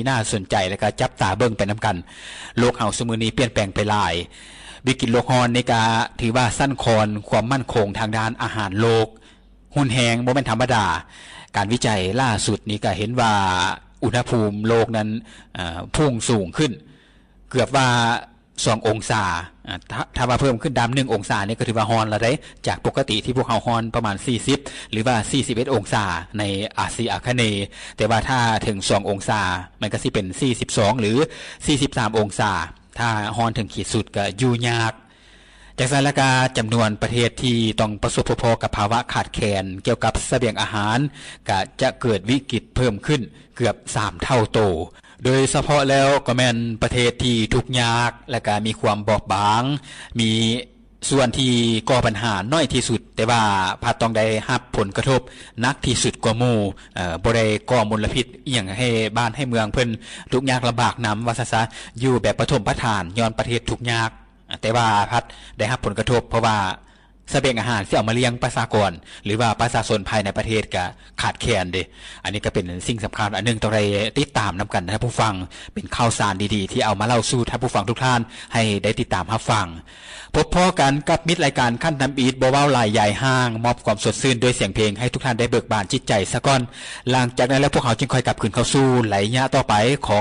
ທີ່ໜ້າສົນໃຈ ແລະກະຈັບຕາເບິ່ງໄປນຳກັນ. ໂລກເຮົາຊຸມື້ນີ້ປ່ຽນແປງໄປຫຼາຍ. ວິກິດໂລກຮ້ອນນີ້ກະຖືວ່າສັ່ນຄອນຄວາມໝັ້ນຄົງທາງດ້ານອາຫານໂລກຮຸນແຮງບໍ່ແມ່ນທຳມະດາ. ການວິໄຈລ່າສຸດນີ້ກະເຫັນວ່າອຸນຫະພູມໂລກນັ້ນ ເອີ ພຸ່ງສູງຂຶ້ນເກືອບວ່າ ສອງອົງສາ. ອາ ຖ້າ ຖ້າວ່າເພີ່ມຂຶ້ນດາມໜຶ່ງອົງສານີ້ກໍຖືວ່າຮ້ອນແລ້ວເດ້ ຈາກປົກກະຕິທີ່ພວກເຮົາຮ້ອນປະມານສີ່ສິບ ຫຼືວ່າສີ່ສິບເອັດອົງສາໃນອາຊີອາຄະເນ. ແຕ່ວ່າຖ້າເຖິງສອງອົງສາ ມັນກໍຊິເປັນສີ່ສິບສອງ ຫຼືສີ່ສິບສາມອົງສາ. ຖ້າຮ້ອນເຖິງຂີດສຸດກໍຢູ່ຍາກ. ຈັ່ງຊັ້ນລະກະ ຈຳນວນປະເທດທີ່ຕ້ອງປະສົບພົບພໍ້ກັບພາວະຂາດແຄນກ່ຽວກັບສະບຽງອາຫານ ກະຈະເກີດວິກິດເພີ່ມຂຶ້ນເກືອບສາມເທົ່າໂຕ. ໂດຍສະເພາະແລ້ວກໍແມ່ນປະເທດທີ່ທຸກຍາກ ແລະກະມີຄວາມບອບບາງ, ມີສ່ວນທີ່ກໍ່ບັນຫາໜ້ອຍທີ່ສຸດ ແຕ່ວ່າພັດຕ້ອງໄດ້ຮັບຜົນກະທົບໜັກທີ່ສຸດກວ່າໝູ່, ເອີ ບໍ່ໄດ້ກໍ່ມົນລະພິດອີ່ຫຍັງໃຫ້ບ້ານໃຫ້ເມືອງເພິ່ນທຸກຍາກລຳບາກນຳ ວ່າຊັ້ນຊະ, ຢູ່ແບບປະຖົມປະຖານ ຍ້ອນປະເທດທຸກຍາກ, ແຕ່ວ່າພັດໄດ້ຮັບຜົນກະທົບ ເພາະວ່າ ສະບຽງອາຫານທີ່ເອົາມາລ້ຽງປະຊາກອນ ຫຼືວ່າປະຊາຊົນພາຍໃນປະເທດກະຂາດແຄນເດ້. ອັນນີ້ກະເປັນສິ່ງສຳຄັນອັນໜຶ່ງ ຕ້ອງໄດ້ຕິດຕາມນຳກັນນະທ່ານຜູ້ຟັງ, ເປັນຂ່າວສານດີໆທີ່ເອົາມາເລົ່າສູ່ທ່ານຜູ້ຟັງທຸກທ່ານໃຫ້ໄດ້ຕິດຕາມຮັບຟັງ. ພົບພໍ້ກັນກັບມິດລາຍການຂັ້ນທຳອິດ ບໍ່ເວົ້າຫຼາຍຢາຍຫ່າງ, ມອບຄວາມສົດຊື່ນດ້ວຍສຽງເພງໃຫ້ທຸກທ່ານໄດ້ເບີກບານຈິດໃຈສາກ່ອນ. ຫຼັງຈາກນັ້ນແລ້ວ ພວກເຮົາຈຶ່ງຄ່ອຍກັບຄືນເຂົ້າສູ່ໄລຍະຕໍ່ໄປຂອງ